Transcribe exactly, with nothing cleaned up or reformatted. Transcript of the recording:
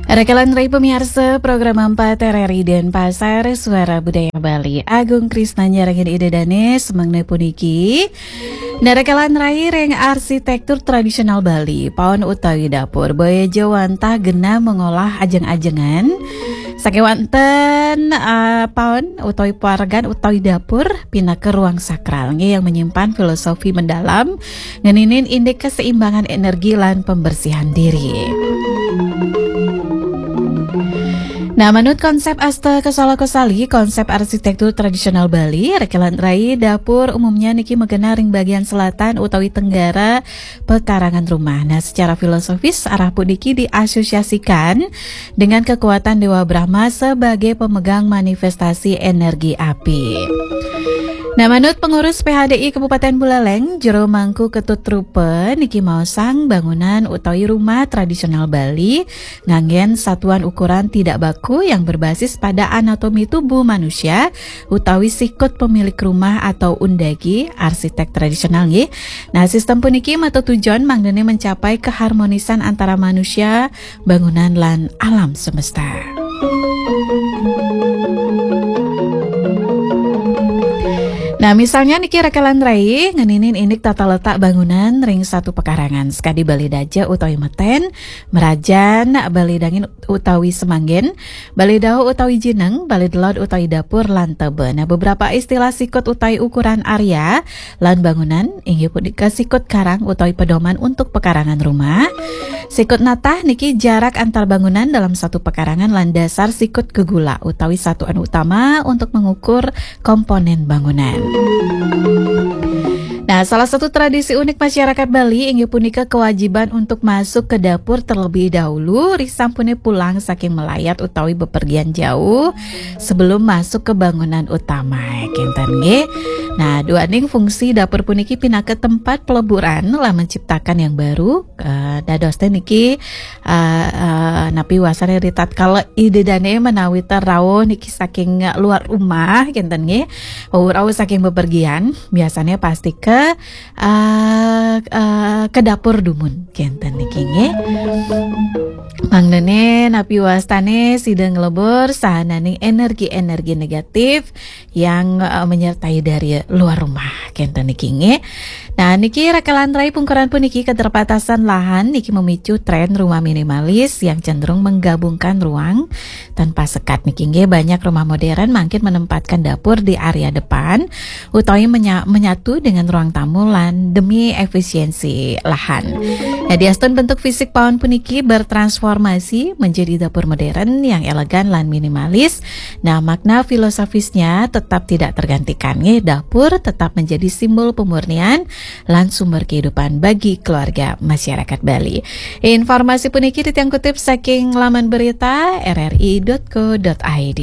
Rekelan rai pemiarsa program empat R R I Denpasar, Suara Budaya Bali. Agung Krisna nyarengin Ida Danes, mangda puniki. Nah, rekelan rai ring arsitektur tradisional Bali, paon utawi dapur, boya ja wantah genah mengolah ajeng-ajengan. Sakewanten, eh, paon utawi pawargan utawi dapur pinaka ruang sakral, nggih, yang menyimpan filosofi mendalam ngeninin indik keseimbangan energi lan pembersihan diri. Nah, manut konsep Asta Kasala Kosali, konsep arsitektur tradisional Bali, rekelan rai dapur umumnya niki magenah ring bagian selatan utawi tenggara pekarangan rumah. Nah, secara filosofis, arah puniki diasosiasikan dengan kekuatan Dewa Brahma sebagai pemegang manifestasi energi api. Nah, manut pengurus P H D I Kabupaten Buleleng, Jero Mangku Ketut Rupa, niki maosang bangunan utawi rumah tradisional Bali nganggen satuan ukuran tidak baku yang berbasis pada anatomi tubuh manusia utawi sikut pemilik rumah atau undagi, arsitek tradisional, nggih. Nah, sistem puniki matutujon mangdane mencapai keharmonisan antara manusia, bangunan, lan alam semesta. Nah, misalnya niki rekelan rai ngeninin indik tata letak bangunan ring satu pekarangan, sakadi baleda ja utawi meten, merajan, baleda angin utawi semanggen, baleda utawi jineng, baleda laut utawi dapur, lan tebe. Nah, beberapa istilah sikut utawi ukuran area lan bangunan inggih punika sikut karang utawi pedoman untuk pekarangan rumah. Sikut natah niki jarak antar bangunan dalam satu pekarangan lan dasar sikut gegula utawi satuan utama untuk mengukur komponen bangunan. Nah, salah satu tradisi unik masyarakat Bali inggih punika kewajiban untuk masuk ke dapur terlebih dahulu, risampune pulang saking melayat utawi bepergian jauh sebelum masuk ke bangunan utama, kenten, nggih. Nah, duaning fungsi dapur puniki pinaka tempat peleburan lan menciptakan yang baru, eh, dados teh niki, eh, eh, napi wasane ritatkala Ida Dane menawi rauh niki saking luar rumah, kenten, nggih. Wau rauh saking bepergian, biasanya pasti ke, eh, eh, ke dapur dumun, kenten, niki, nggih. Mangdane napi wastane sida nglebur sahananing energi-energi negatif yang, eh, menyertai dari luar rumah, kenten, niki, nggih. Nah, niki rekelan rai pungkuran puniki, keterbatasan lahan niki memicu tren rumah minimalis yang cenderung menggabungkan ruang tanpa sekat, niki, nggih. Banyak rumah modern mangkin menempatkan dapur di area depan utawi menya-, menyatu dengan ruang tamu lan demi efisiensi lahan. Nah, diastun bentuk fisik paon puniki bertransformasi menjadi dapur modern yang elegan lan minimalis. Nah, makna filosofisnya tetap tidak tergantikan, nggih. Dapur tetap menjadi simbol pemurnian lan sumber kehidupan bagi keluarga masyarakat Bali. Informasi puniki titiang kutip saking laman berita R R I dot co dot I D.